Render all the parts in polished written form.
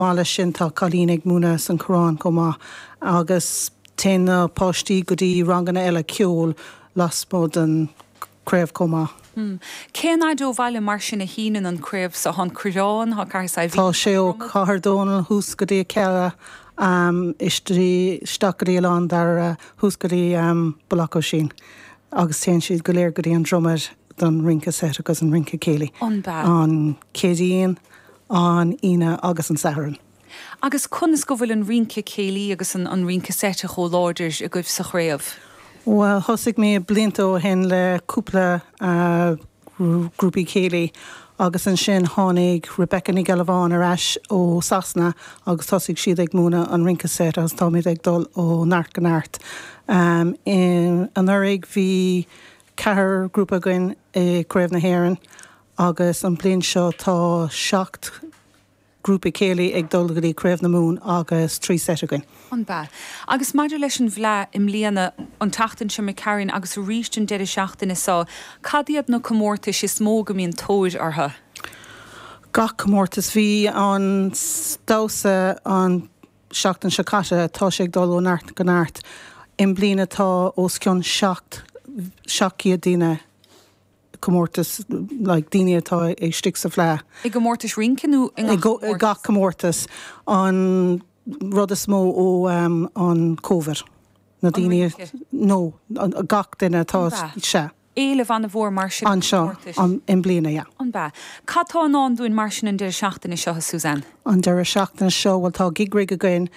Maith leis sin tá cailín ag múineadh san Choireán chomh maith agus téann na páistí go dtí ranganna eile ceoil lasmuigh den craobh chomh maith. Cén fhaid ó bhaile mar sin a shíneann an craobh so? Tá an Coireán, tá Cathair Saidhbhín, Tá sé ó Cathair Dónall thuas go dtí an Cealla, isteach go dtí Oileán Dairbhre, thuas go dtí Baile Átha Oisín agus téann siad go léir go dtí an Dromad don rince seit agus an rince céilí. An b'ea? An Céadaoin, an Aoine agus an Satharn. Agus conas go bhfuil an rince céilí agus an rince seite chomh láidir agaibh sa chraobh? Bhuel, thosaigh mé blianta ó shin le cúpla grúpaí céilí agus ansin tháinig Rebecca Ní Ghealbháin ar ais ó Sasana agus thosaigh siad ag múineadh an rince seit agus táimid ag dul ó neart go neart. Anuraidh bhí ceathrar grúpa againn i Craobh na hÉireann Agus an bliain seo tá 7 grúpa céilí ag dul go dtí Craobh na Mumhan agus 3 seit againn. An b'ea? Agus maidir leis an bhFleadh i mbliana, an tseachtain seo imigh tharainn agus arís an deireadh seachtaine seo, cad iad na comórtais is mó go mbíonn tóir orthu? Gach comórtas. Bhí an damhsa an seachtain seo caite, tá sé ag dul ó neart go neart. I mbliana tá os cionn 700 daoine. comórtas like daoine atá istigh sa bhFleadh. I gcomórtais rince nó i ngach comórtas? I gach comórtas. An rud is mó ó an Covid. Na daoine. No, gach duine atá, sea. Éileamh an-mhór mar sin ar na comórtais. Anseo, i mbliana, yeah. An b'ea? Cad tá i ndán dúinn mar sin an deireadh seachtaine seo, a Suzanne? An deireadh seachtaine seo, bhuel tá Gig Rig againn.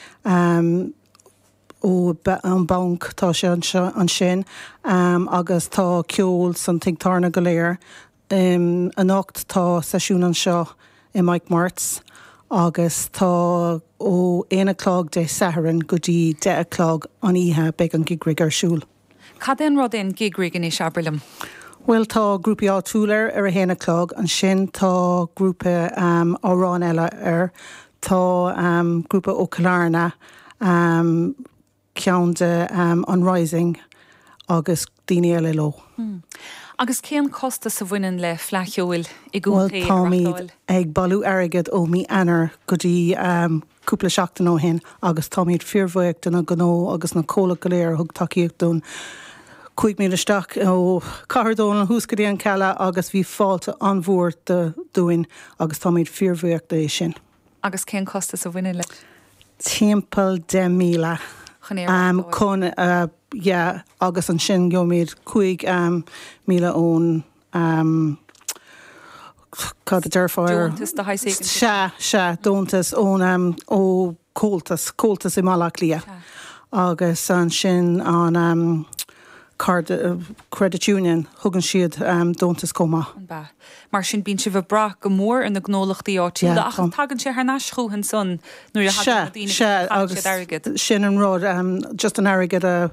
Ó an banc, tá sé anseo ansin agus tá ceol san tigh tábhairne go léir. Anocht tá seisiún anseo i Mike Marts agus tá ó aon a chlog Dé Sathairn go dtí deich a chlog an oíche beidh an Gig Rig ar siúl. Cad é an rud é an Gig Rig anois, abair liom? Bhuel tá grúpaí áitiúil air ar a haon a chlog, ansin tá grúpa amhráin eile air, tá grúpa ó Chill Airne, ceann de an Rising agus daoine eile leo. Agus cén costas a bhaineann le Fleadh Cheoil i gcontae a reáchtáil? Bhuel táimid ag bailiú airgead ó mí Eanáir go dtí cúpla seachtain ó shin agus táimid fíorbhuíoch de na gnó agus na comhlacht go léir a thug tacaíocht dúinn. Chuaigh muid isteach ó Cathair Dónall thuas go dtí an Chaladh agus bhí fáilte an-mhór dúinn agus táimid fíorbhuíoch de sin. Agus cén costas a bhaineann leis? Timpeall 10,000. Chun é a reáchtáil? Chun, yeah, agus ansin gheobhaimid 5,000 ón, cad a déarfá air? Deontas de shaghas éigin? Sea, sea, deontas ón, ó Comhaltas, Comhaltas i mBaile Átha Cliath. Sea. Agus ansin an Credit Union, thugann siad deontas chomh maith. An b'ea? Mar sin bíonn sibh ag brath go mór ar na gnólachtaí áitiúla ach tagann sé thar n-ais chucu ansan nuair a thagann na daoine agus caitheann siad airgead. Sea, sin an rud, just an airgead a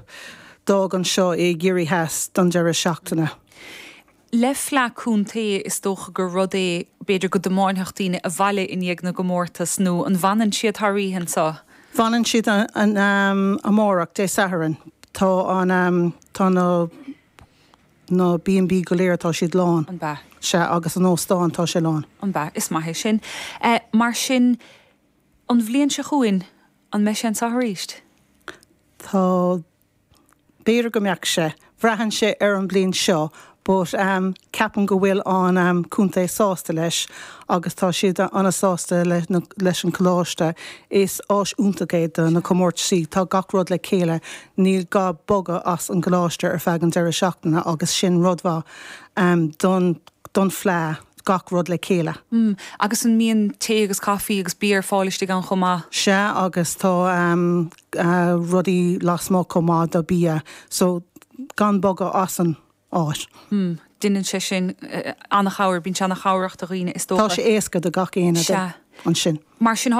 d'fhág anseo i gCiarraí Theas don deireadh seachtaine. Le Fleadh Contae is dócha gur rud é b'fhéidir go dtiomáinfeadh daoine abhaile i ndiaidh na gcomórtas nó an bhfanann siad thar oíche anseo? Fanann siad amárach, Dé Sathairn. Tá an, tá na. na B&B go léir, tá siad lán. An b'ea? Sea, agus an óstán, tá sé lán. An b'ea? Is maith é sin. Mar sin, an bhliain seo chugainn, an mbeidh sé anseo arís? Tá, b'fhéidir go mbeadh sé. Braitheann sé ar an bhliain seo but ceapaim go bhfuil an contae sásta leis agus tá siad an-sásta leis an choláiste. Is áis iontach é do na comórtaisí. Tá gach rud le chéile. Níl gá bogadh as an gcoláiste ar feadh an deireadh seachtaine agus sin rud mhaith don don Fleadh, gach rud le chéile. Agus an mbíonn tae agus caife agus bia ar fáil istigh ann chomh maith? Sea agus tá rudaí lasmuigh chomh maith do bia so gan bogadh as an áit. Hmm. Deineann sé sin an-chabhair, bíonn sé an-chabhrach do dhaoine is dócha. Tá sé éasca do gach éinne Sea. ansin. Mar sin.